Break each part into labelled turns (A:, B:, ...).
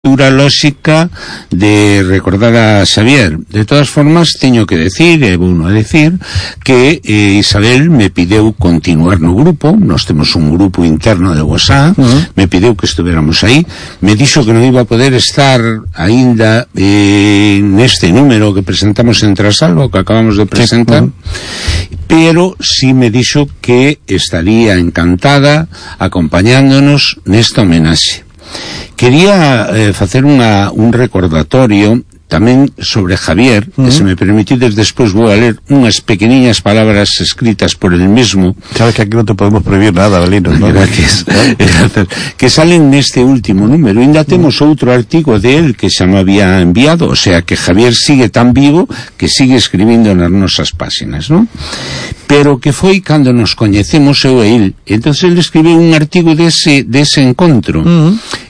A: estructura lóxica de recordar a Xavier. De todas formas, teño que decir, é bueno decir, que Isabel me pideu continuar no grupo. Nós temos un grupo interno de WhatsApp, me pideu que estuviéramos aí, me dixo que non iba a poder estar aínda neste número que presentamos en Trasalvo, que acabamos de presentar, pero sí me dixo que estaría encantada acompañándonos nesta homenaxe. Quería facer un recordatorio tamén sobre Javier, que se me permitides despois vou a ler unhas pequeniñas palabras escritas por el mismo.
B: Sabes que aquí non te podemos prohibir nada, Belino, ¿no?
A: Gracias. Que salen neste último número. Ainda temos outro artigo de él que xa me había enviado, o sea que Javier sigue tan vivo que sigue escribindo nas nosas páxinas, ¿no? Pero que foi cando nos coñecemos eu e el. Entonces ele escribiu un artigo dese encontro.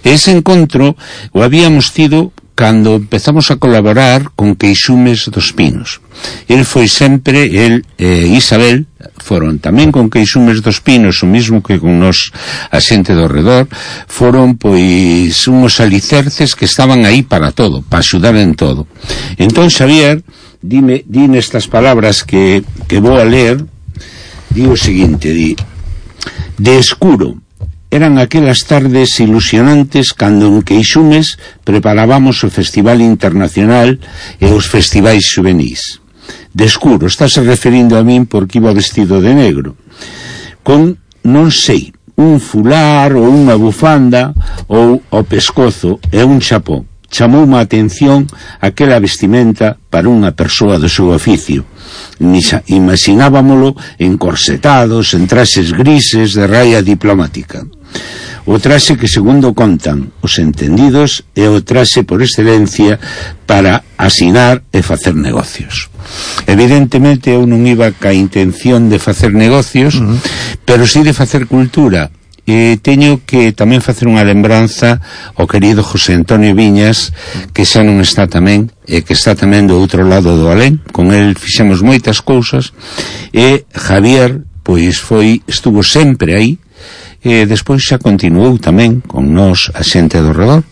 A: Ese encontro o habíamos tido cando empezamos a colaborar con Queixumes dos Pinos. El foi sempre, el e Isabel foron tamén con Queixumes dos Pinos, o mismo que con nos a xente do redor, foron pois unhos alicerces que estaban aí para todo, para axudar en todo. Entón Xavier di nestas palabras que vou a ler, di o seguinte, di: de escuro eran aquelas tardes ilusionantes cando en Queixumes preparábamos o Festival Internacional e os festivais xuvenís. De escuro, estáse referindo a min porque iba vestido de negro, con, non sei, un fular ou unha bufanda ou o pescozo e un chapó. Chamoume a atención aquela vestimenta para unha persoa do seu oficio. Imaginábamolo encorsetados, en traxes grises de raya diplomática. O traxe que, segundo contan os entendidos, é o traxe por excelencia para asinar e facer negocios. Evidentemente eu non iba ca intención de facer negocios, pero sí de facer cultura. Teño que tamén facer unha lembranza ao querido José Antonio Viñas, que xa non está tamén, e que está tamén do outro lado do alén. Con el fixemos moitas cousas, e Javier pois estuvo sempre aí, e despois xa continuou tamén con nós a xente do redor.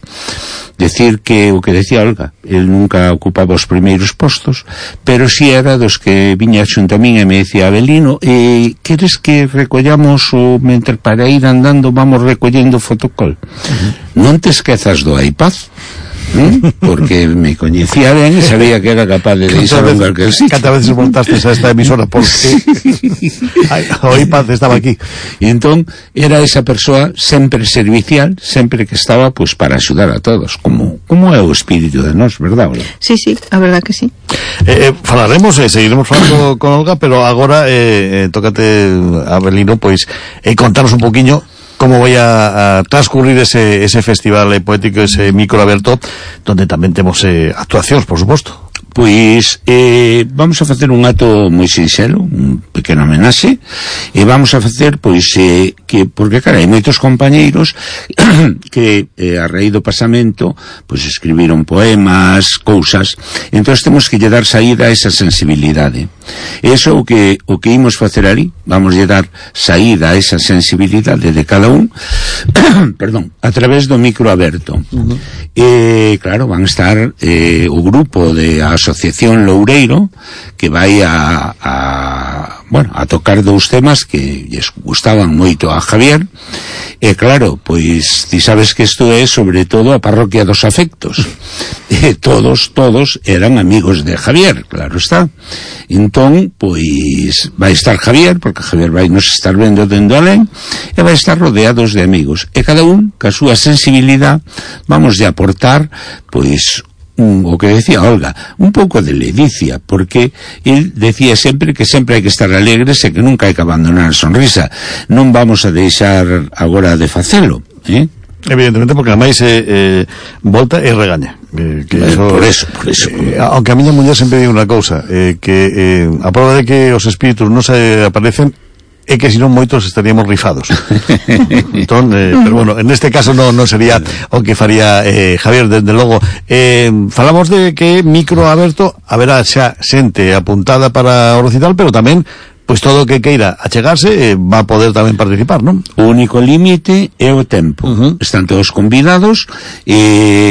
A: Decir que o que decía Olga, el nunca ocupaba os primeiros postos, pero si era dos que viña xunto a min e me decía: Abelino, queres que recollamos o mentre para ir andando vamos recollendo fotocol? Non te esquezas do iPad, porque me coñecía ben e sabía que era capaz de deixar un calquer sitio.
B: Canta veces montaste a esta emisora porque o iPad estaba aquí.
A: E entón era esa persoa sempre servicial, sempre que estaba pues para axudar a todos, como é o espírito de nós, verdad, Olga?
C: Sí, a verdad que sí.
B: Falaremos, seguiremos falando con Olga, pero agora tócate, Abelino, pois contanos un poquinho como vai a transcurrir ese festival poético, ese micro aberto, donde tamén temos actuacións, por suposto.
A: Pois vamos a facer un acto moi sinxelo, un pequeno homenaxe, e vamos a facer pois que, porque cara, hai moitos compañeiros que a raíz do pasamento pois escribiron poemas, cousas, entón temos que lle dar saída a esa sensibilidade. Eso o que imos facer ali, vamos lle dar saída a esa sensibilidade de cada un perdón, a través do micro aberto. Claro, van estar o grupo de Asociación Loureiro, que vai a tocar dous temas que lles gustaban moito a Javier. E claro, pois ti sabes que isto é sobre todo a parroquia dos afectos, e todos eran amigos de Javier, claro está. Entón, pois vai estar Javier, porque Javier vai nos estar vendo dende alén, e vai estar rodeados de amigos, e cada un, ca súa sensibilidade, vamos de aportar pois o que decía Olga, un pouco de ledicia, porque el decía sempre que sempre hai que estar alegres e que nunca hai que abandonar a sonrisa. Non vamos a deixar agora de facelo,
B: Evidentemente, porque ademais volta e regaña.
A: Por eso.
B: Aunque a miña muller sempre di unha cousa, que a prova de que os espíritus non se aparecen é que senón moitos estaríamos rifados. Entón, pero bueno, en este caso non sería o que faría Javier, desde logo. Falamos de que micro aberto haberá xa xente apuntada para o recital, pero tamén pois todo o que queira achegarse va a poder tamén participar, non?
A: O único límite é o tempo. Están todos convidados e